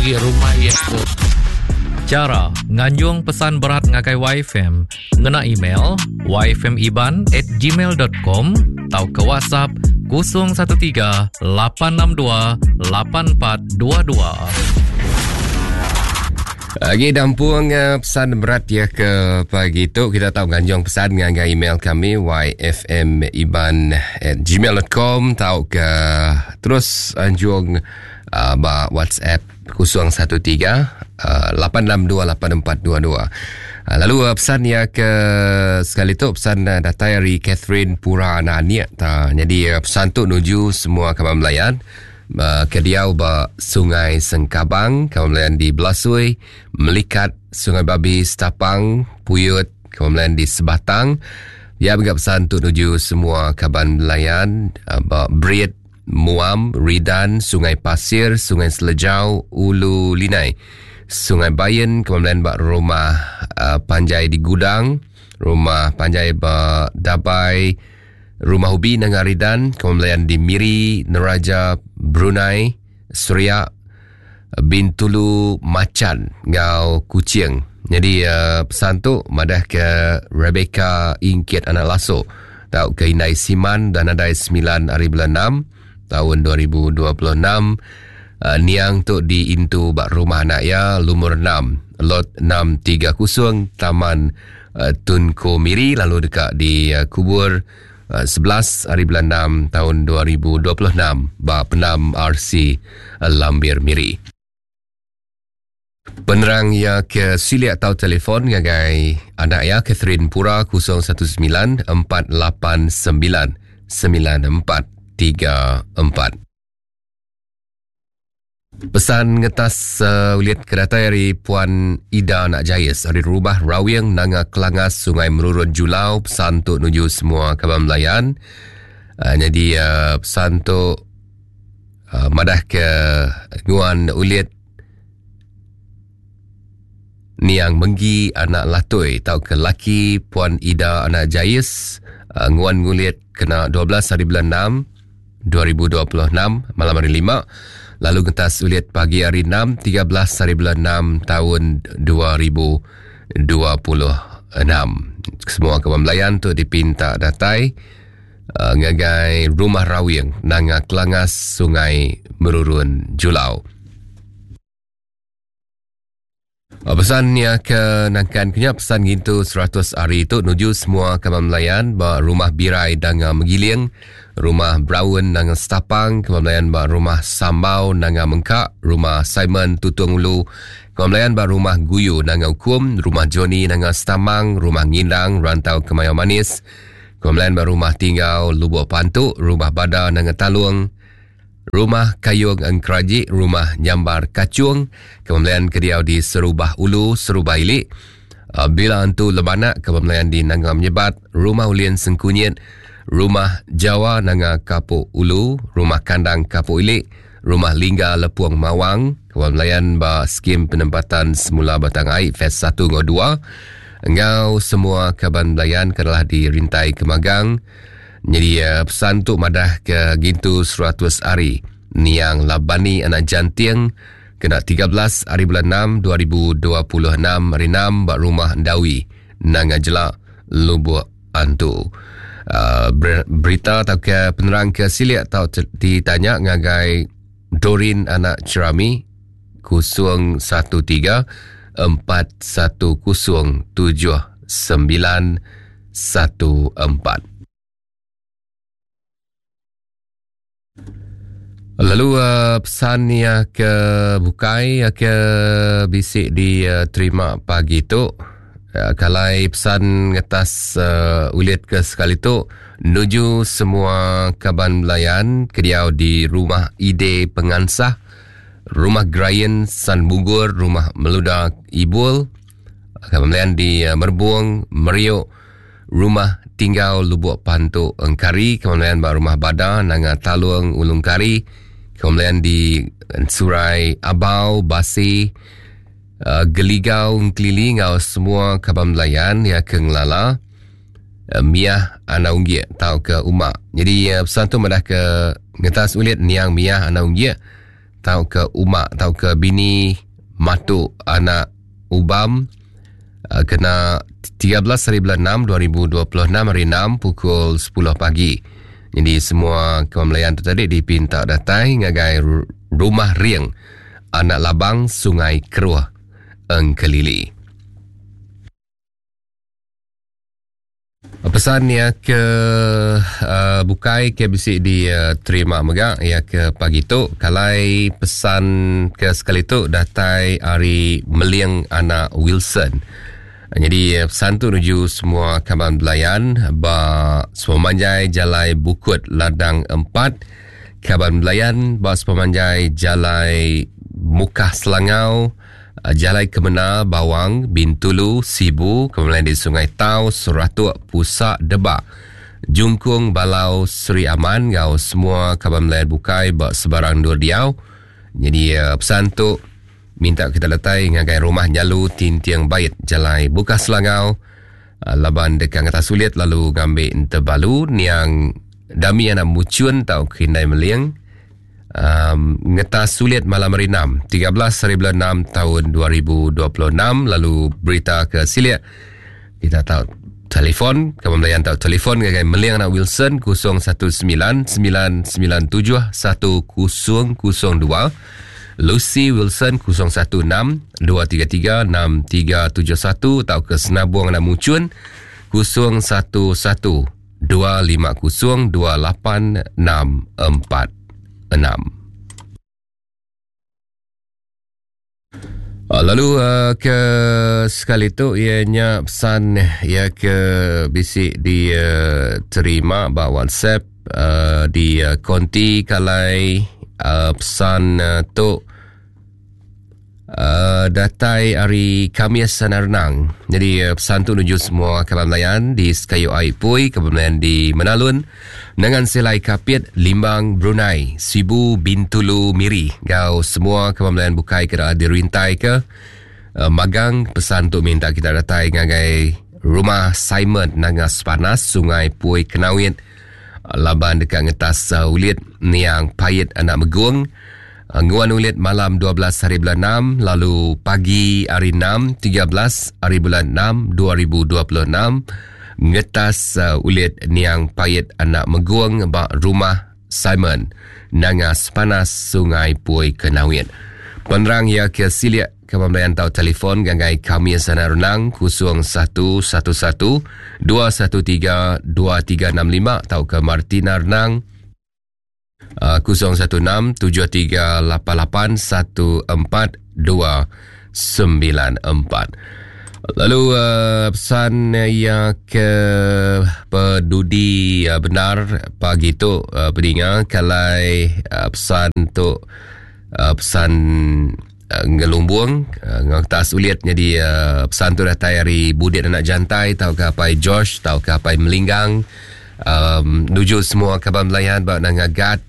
agi rumah iya tu. Chara nganjung pesan berat ngagai YFM ngena email yfmiban at gmail dot com tauka WhatsApp 013 862 8422. Agi dampung eh, pesan berat ya ke pagi tu kita tahu nganjung pesan ngagai email kami yfmiban at gmail.com tau ke terus anjung uh, ba WhatsApp 013 uh, 862 8422. Uh, lalu uh, pesan ya ke sekali tu pesan uh, datai dari Catherine Pura anak Aniak ta. Jadi uh, pesan tu nuju semua kaban Melayan uh, ke diau ba Sungai Sengkabang, kaban Melayan di Belasui, Melikat, Sungai Babi, Setapang, Puyut, kaban Melayan di Sebatang. Ya mega pesan tu nuju semua kaban Melayan uh, ba Brit, Muam, Ridan, Sungai Pasir, Sungai Selejau, Ulu Linai, Sungai Bayan, kemudian ba rumah uh, panjai di Gudang, rumah panjai ba Dabai, rumah Ubi Nanga Ridan, kemudian di Miri, Neraja, Brunei, Seriak, Bintulu, Macan ngau Kuching. Jadi uh, pesan tu madah ke Rebecca Ingkit anak Laso tau ke Indai Siman dan adai 9 hari bulan 6 tahun 2026 uh, niang tu diintu bak rumah anak ya lumur 6 lot 630 Taman uh, Tunku Miri lalu dekat di uh, kubur uh, 11 hari bulan 6 tahun 2026 bak penam RC uh, Lambir Miri. Penerang ia ke silik atau telefon ngagai anak ia Catherine Pura 019 489 9434. Pesan ngetas uh, ulit kedatai dari Puan Ida Nak Jayes dari Rubah Rawing Nanga Kelangas Sungai Merurun Julau pesan tu nuju semua kaban Melayan. Uh, jadi uh, pesan tu uh, madah ke nguan ulit Niang Menggi anak Latoi tau ke laki Puan Ida anak Jais uh, nguan ngulit kena 12 hari bulan 6 2026 malam hari 5 lalu ngetas ulit pagi hari 6 13 hari bulan 6 tahun 2026 semua kawan Melayan tu dipinta datai uh, ngagai Rumah Rawing Nanga Kelangas Sungai Merurun Julau. Ah, pesan ya ke nangkan kenya pesan ngintu 100 hari itu nuju semua kaban Melayan ba rumah Birai Danga Megiling, rumah Brown Nanga Setapang, kaban Melayan ba rumah Sambau Nanga Mengkak, rumah Simon Tutung Ulu, kaban Melayan ba rumah Guyu Nanga Ukum, rumah Johnny Nanga Setamang, rumah Ngindang Rantau Kemayau Manis, kaban Melayan ba rumah Tinggal Lubuk Pantu, rumah Bada Nanga Talung, Rumah Kayung Engkeraji, Rumah Nyambar Kacung, Kepemelian Kediau di Serubah Ulu, Serubah Ilik, uh, Bila Antu Lebanak, Kepemelian di Nanga Menyebat, Rumah Ulin Sengkunyit, Rumah Jawa Nanga Kapuk Ulu, Rumah Kandang Kapuk Ilik, Rumah Lingga Lepuang Mawang, Kepemelian ba Skim Penempatan Semula Batang Ai Phase 1 ngau 2, engau semua kaban belayan kedalah di Rintai Kemagang, Nyadi uh, pesan tu madah ke gintu 100 hari niang Labani anak Janting kena 13 hari bulan 6 2026 hari 6 ba rumah Ndawi Nanga Jelak Lubuk Antu. Uh, berita atau ke penerang ke silik atau ditanya ngagai Dorin anak Cerami 013 410 79 14. Lalu uh, pesan ya ke bukai ya ke bisik diterima pagi tu. Uh, kalai pesan ngetas uh, ulit ke sekali tu nuju semua kaban belayan kediau di rumah Ide Pengansah, rumah Grayen San Bunggur, rumah Meluda Ibul, Kaban belayan di uh, Merbung, Meriuk, Rumah Tinggal Lubuk Pantu Engkari, kaban belayan ba Rumah Bada, Nanga Talung Ulung Kari, kaban belayan di Surai Abau, Basi, uh, Geligau Engkelili ngau semua kaban belayan ya ke ngelala uh, Miah Anak Unggie tau ke Umak. Jadi uh, pesan tu madah ke ngetas ulit niang Miah Anak Unggie. tauka Uma tauka bini Matu anak Ubam kena 13 hari bulan 6 2026 hari 6 pukul 10 pagi. Jadi semua kawan Melayan tu tadi dipinta datai ngagai Rumah Ring Anak Labang Sungai Keruh Engkelili. Pesan iya ke uh, bukai ke bisi diterima mega iya ke pagi tu kalai pesan ke sekali tu datai ari Meling anak Wilson. Jadi pesan tu nuju semua kaban belayan ba sepemanjai jalai Bukut Ladang 4, kaban belayan ba sepemanjai jalai Mukah Selangau, Jalai Kemena, Bawang, Bintulu, Sibu, kemudian di Sungai Tau, Seratuk, Pusa, Debak, Jungkung, Balau, Seri Aman enggau semua kaban belayan bukai ba sebarang endur diau. Nyadi pesan tu minta kita datai ngagai Rumah Nyalu Tinting Bait, Jalai Bukah Selangau, laban deka ngetas ulit lalu ngambi entebalu niang Dami anak Muchun tauka Indai Meling. Um, ngetas sulit malam hari 6, 13 hari bulan 6 tahun 2026 lalu berita ke silik kita tahu telefon kamu melayan tahu telefon ngagai Meling anak Wilson 019 997 1002 Lucy Wilson 016 233 6371 atau ke Senabung anak Mucun 011 250 28646. Ah, lalu uh, ke sekali tu ianya pesan ia ke bisi diterima uh, ba WhatsApp uh, di uh, konti kalai uh, pesan uh, tu Uh, datai hari Khamis Sana Renang. Jadi uh, pesan tu nuju semua kaban Melayan di Sekayu Ai Pui, kaban Melayan di Menalun, Nengan Selai Kapit, Limbang, Brunei, Sibu, Bintulu, Miri. Gau semua kaban Melayan bukai kena dirintai ke uh, magang pesan tu minta kita datai ngagai rumah Simon Nanga Sepanas, Sungai Pui Kenawit, laban deka ngetas uh, ulit niang Pait Anak Megung. Nguan ulit malam 12 hari bulan 6 lalu pagi hari 6 13 hari bulan 6 2026 ngetas uh, ulit niang pait anak megung ba rumah Simon Nanga Sepanas Sungai Pui Kenawit. Penerang ia ke silik ke pembelian tau telefon gagai kami sana renang 0111 213 2365 tau ke Martina Renang 016 7388 14294. Lalu uh, pesan yang ke pedudi uh, benar pagi tu uh, peninga kalai uh, pesan tu uh, pesan uh, ngelumbung uh, ngetas ulit jadi uh, pesan tu datai hari Budit anak Jantai tau ke apai George tau ke apai Melinggang um, nuju semua kaban Melayan ba Nanga Gat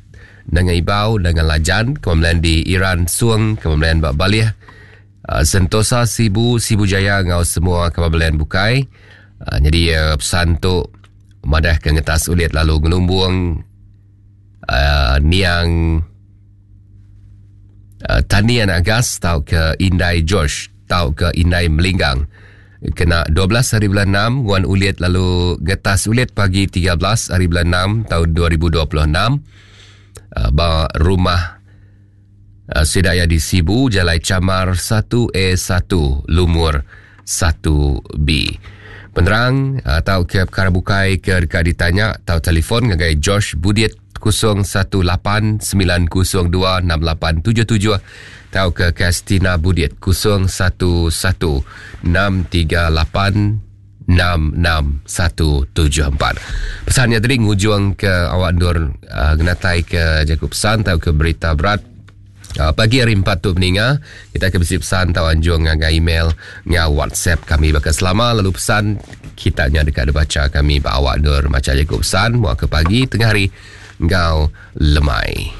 Nanga Ibau Nanga Lajan kaban Melayan di Iran Suang kaban Melayan ba Balih uh, Sentosa Sibu Sibu Jaya ngau semua kaban Melayan bukai uh, jadi uh, pesan tu madah ke ngetas ulit lalu ngelumbung uh, niang uh, Tani anak Gas tau ke Indai George tau ke Indai Melinggang kena 12 hari bulan 6 nguan ulit lalu getas ulit pagi 13 hari bulan 6 tahun 2026 uh, ba rumah uh, Sidaya di Sibu Jalai Camar 1A1 Lumur 1B. Penerang atau ke perkara bukai ke dekat ditanya atau telefon ngagai George Budiet 0189026877 atau ke Kastina Budiet 011638 66174. Pesannya tadi ngujung ke awak endur uh, ngenatai ke jaku pesan atau ke berita berat Uh, pagi hari 4 tu peninga, kita akan bisi pesan atau anjung ngagai email ngau WhatsApp kami bakal selama lalu pesan kita nya dekat dibaca kami ba awak endur macha jaku pesan mua ke pagi tengah hari ngau lemai.